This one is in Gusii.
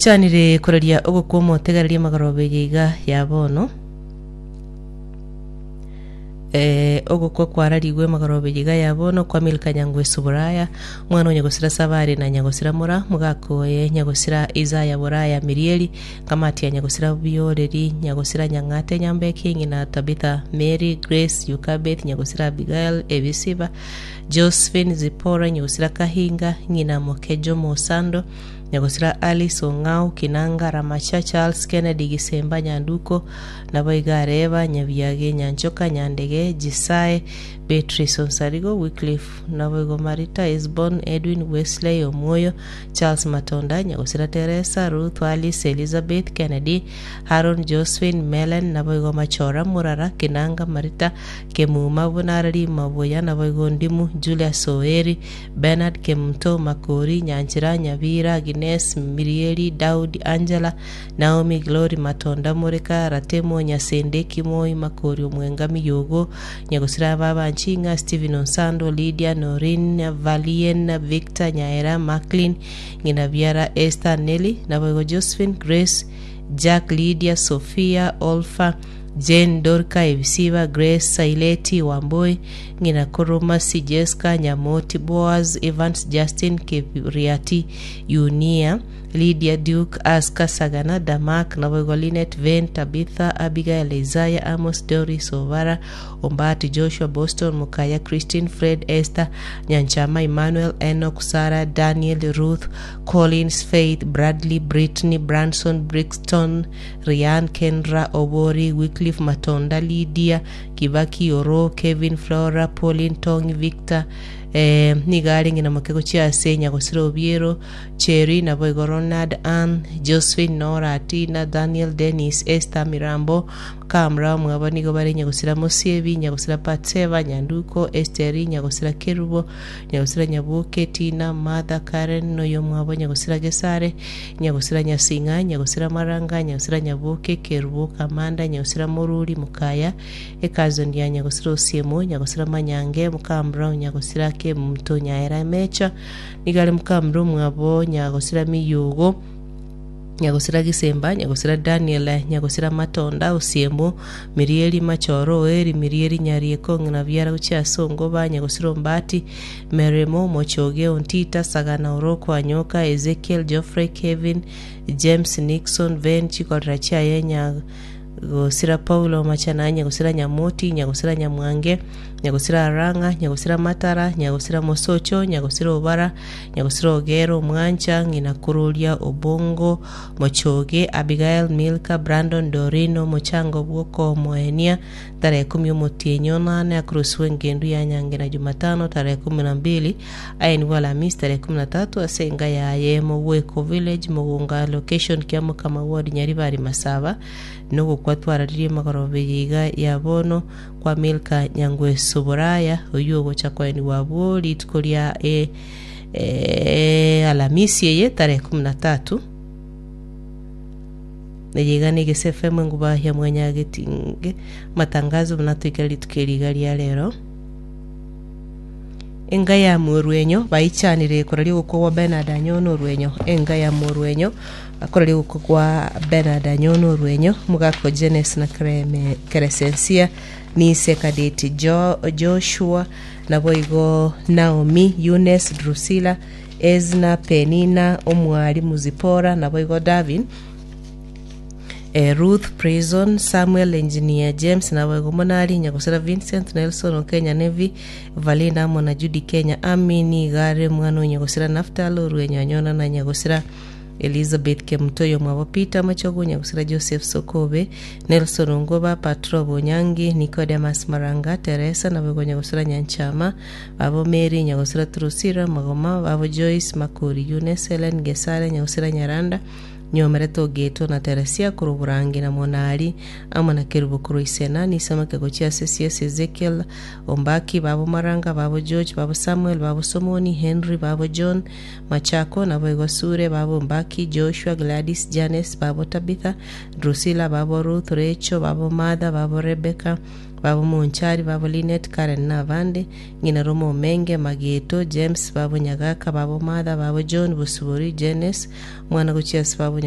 Chanire koraria ogokwa omotegereria amagoroba eye iga ya bono. Eh, ogokwa kwararigwe amagoroba eye iga ya bono kwa Milka Nyangweso Buraya, omwana o Nyagosira Sabari na Nyagosira Mura, mogaka oye Nyagosira Isaya Buraya Mirieri, Kamati ya Nyagosira Bioreri, Nyagosira Nyang'ate Nyambeki, ng'ina Tabitha Mary, Grace Yukabeth, Nyagosira Abigail Ebisiba, Josephine Zipporah, Nyagosira Kahinga, ng'ina moke Jomo Osando, Nyagosira Alice Ong'au, Kinanga, Ramacha, Charles Kennedy, Gisemba, Nyanduko, naboigo Areba, Nyabiage, Nyanchoka, Nyandege, Jisae, Beatrice Onsarigo, Wycliffe, naboigo Marita, Esbon, Edwin, Wesley, Omwoyo, Charles Matonda, Nyagosira Teresa, Ruth, Alice, Elizabeth, Kennedy, Haron, Josephine, Melen, naboigo Machora, Murara, Kinanga, Marita, Kemuma, buna Arari, Mabuya, naboigo Ndimu, Julius Oeri, Bernard Kemunto, Makori, Nyanchera, Nyabira, Agnes, Mirieli, Daudi, Angela, Naomi, Glory, Matonda, Moreka, Ratemo, Nyasende, Kimoi, Makori, Omwenga, Miyogo, Nyagosira, Baba Nchinga, Stephen Onsando, Lydia, Noreen, Valien, Victor, Nyaera, Macklin, Ng'ina Biara, Esther, Nelly, naboigo Josephine, Grace, Jack, Lydia, Sophia, Olpha, Jane, Dorka, Ebisiba, Grace, Saileti, Wamboi, Ng'ina korwa Mercy, Jesca, Nyamoti, Boaz, Evans, Justin, Kebiriati, Yunia, Lydia, Duke, Aska, Sagana, Damak, naboigo Linet, Ven, Tabitha, Abigail, Isaiah, Amos, Doris, Obara, Ombati, Joshua, Boston, Mukaya, Christine, Fred, Esther, Nyanchama, Emmanuel, Enoch, Sarah, Daniel, Ruth, Collins, Faith, Bradley, Brittany, Branson, Brixton, Rian, Kendra, Obori, Wycliffe, Matonda, Lydia, Kibaki, Oro, Kevin, Flora, Pauline, Tony, Victor, eh, nigo arenge na moke gochia ase Nyagosira Obiero, Cherry, naboigo Ronald, Ann, Josephine, Nora, Tina, Daniel, Dennis, Esther, Mirambo, Kamra, omwabo nigo bare Nyagosira Mosiebi, Nyagosira Batseba, Nyanduko, Esteri, Nyagosira Kerubo, Nyagosira Nyaboke, Tina, Martha, Karen, noyomwabo Nyagosira Gesare, Nyagosira Nyasing'a, Nyagosira Maranga, Nyagosira Nyaboke, Kerubo, Kamanda, Nyagosira Moruri, Mokaya, Ecousin ya Nyagosira Osiemo, Nyagosira Manyange, Mokamura, Nyagosira Kemunto, Nyaera Emecha, nigo are mokamura omwabo Nyagosira Miyogo, Nyagosira Gisemba, Nyagosira Daniel, Nyagosira Matonda, Osiemo, Mirieri Machoro, Oeri, Mirieri Nyarieko, Ng'ina Biara gochia ase Ongoba, Nyagosira Ombati, Meremo, Mochoge, Ontita, Sagana, Oroko, Anyoka, Ezekiel, Geoffrey, Kevin, James, Nixon, Ven, chikorera chiaye Nyagosira Paulo, Machana, Nyagosira Nyamoti, Nyagosira Nyamwange, Nyagosira Arang'a, Nyagosira Matara, Nyagosira Mosocho, Nyagosira Obara, Nyagosira Ogero, Omwancha, Ng'ina Kororia, Obongo, Mochoge, Abigael, Milka, Brandon, Doreen, Omochango bw'okomoenia, Tarehe ikomi omotienyi onane akorosigwe engendu ya nyange na Jumatano tarehe kumi na mbili aye nigo Alhamisi tarehe kumi na tatu ase enka yaye Mogweko Village Mogonga Location Kiamokama Ward Nyaribari Masaba nogokwa twararirie magoroba eye iga ya bono kwa Milka Nyangweso Boraya oyio ogocha koenigwa abwo rituko ria e Alhamisi eye tarehe kumi na tatu. Eye iga negese FM enguba ya mwanyagetinge amatangazo buna toikera rituko eri iga ria rero. Enga ya morwenyo baichanire koraria ogokwa gwa Bernard Anyona Orwenyo. Enga ya morwenyo bakoraria ogokwa gwa Bernard Anyona Orwenyo omogaka o Jenes na Kereme Keresensia Nise Kadeti Jo Joshua naboigo Naomi Eunice Drusilla Ezna Penina omwalimu Zipora naboigo Davin Eh, Ruth Prison, Samuel Engineer James naboigo Monari, Nyagosira Vincent, Nelson Okenya Nevi, Valinda amo na Judy Kenya Ami nigo are omwana o Nyagosira Naftali Orwenyo Anyona na Nyagosira Elizabeth Kemutoyo omwabo Peter Machogu Nyagosira Joseph Sokobe, Nelson Ongoba, Patro Bonyangi, Nicodemus Maranga, Teresa naboigo Nyagosira Nyanchama, babo Mary Nyagosira Drusilla Magoma, babo Joyce Makori Eunice Helen Gesare Nyagosira Nyaranda, Nyomerete ogetwe na Teresia korwa Borangi na Monari, amo na Kerubo korwa Isena, Nisamake gochia ase Siesi, Ezekiel, Ombaki, babo Maranga, babo George, babo Samuel, babo Somoni, Henry, babo John, Machako, naboigo Sure, babo Ombaki, Joshua, Gladys, Janes, babo Tabitha, Drusilla, babo Ruth, Rachel, babo Martha, babo Rebecca, Babo Monchari, babo Linet, Karen na abande, ng'ina Roma Omenge, Mageto, James, babo Nyagaka, babo Martha, babo John, Bosibori, Jenes, omwana gochia ase babo.